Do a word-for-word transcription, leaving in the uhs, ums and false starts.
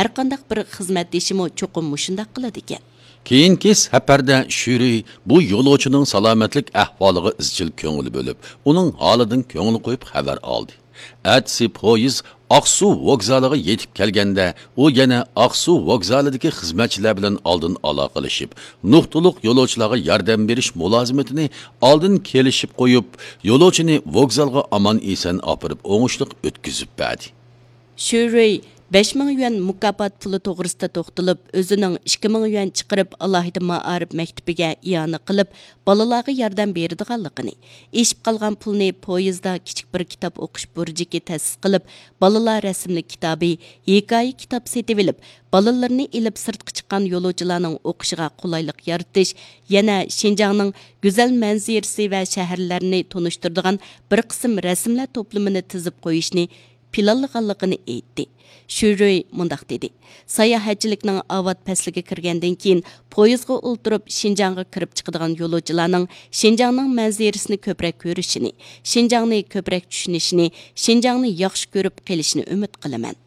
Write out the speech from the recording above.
ھەرقانداق بىر خىزمەتدىشىمۇ چوقۇم مۇشۇنداق قىلىدىكەن. كېيىنكى سەپەردە شۈرۈي بۇ يولۇچىنىڭ سالامەتلىك ئەھۋالىغا ئىزچىل كۆڭۈل بۆلۈپ، ئۇنىڭ ھالىدىن كۆڭۈل قويۇپ خەۋەر ئالدى. ئەتىسى پويىز ئاقسۇ ۋوگزالىغا يېتىپ كەلگەندە، ئۇ يەنە ئاقسۇ ۋوگزالىدىكى خىزمەتچىلەر بىلەن ئالدىن ئالاقىلىشىپ، نۇقتىلىق يولۇچىلارغا ياردەم بېرىش مۇلازىمىتىنى ئالدىن كېلىشىپ قويۇپ، يولۇچىنى ۋوگزالغا ئامان-ئېسەن ئاپىرىپ، ئوڭۇشلۇق ئۆتكۈزۈپ بەردى. شۈرۈي بەش مىڭ يۈەن مۇكاپات پۇلى توغرىسىدا توختىلىپ، ئۆزىنىڭ ئىككى مىڭ يۈەن چىقىرىپ، ئالاھىدە مائارىپ مەكتىپىگە ئىئانە قىلىپ، بالىلارغا ياردەم بېرىدىغانلىقىنى، ئېشىپ قالغان پۇلنى پويىزدا كىچىك بىر كىتاب ئوقۇش بۇرجىكى تەسىس قىلىپ، بالىلار رەسىملىك كىتابى، ھېكايە كىتاب سېتىۋېلىپ، بالىلىرىنى ئېلىپ سىرتقا چىققان يولۇچىلارنىڭ ئوقۇشىغا قولايلىق يارىتىش، يەنە شىنجاڭنىڭ گۈزەل مەنزىرىسى ۋە شەھەرلەرنى تونۇشتۇرىدىغان بىر قىسىم رەسىملەر توپلىمىنى تىزىپ قويۇشنى پىلانلىغانلىقىنى ئېيتتى. شۈرۈي مۇنداق دېدى: ساياھەتچىلىكنىڭ ئاۋات پەسلىگە كىرگەندىن كېيىن، پويىزغا ئولتۇرۇپ شىنجاڭغا كىرىپ چىقىدىغان يولۇچىلارنىڭ شىنجاڭنىڭ مەنزىرىسىنى كۆپرەك كۆرۈشىنى، شىنجاڭنى كۆپرەك چۈشىنىشىنى، شىنجاڭنى ياخشى كۆرۈپ قېلىشىنى ئۈمىد قىلىمەن.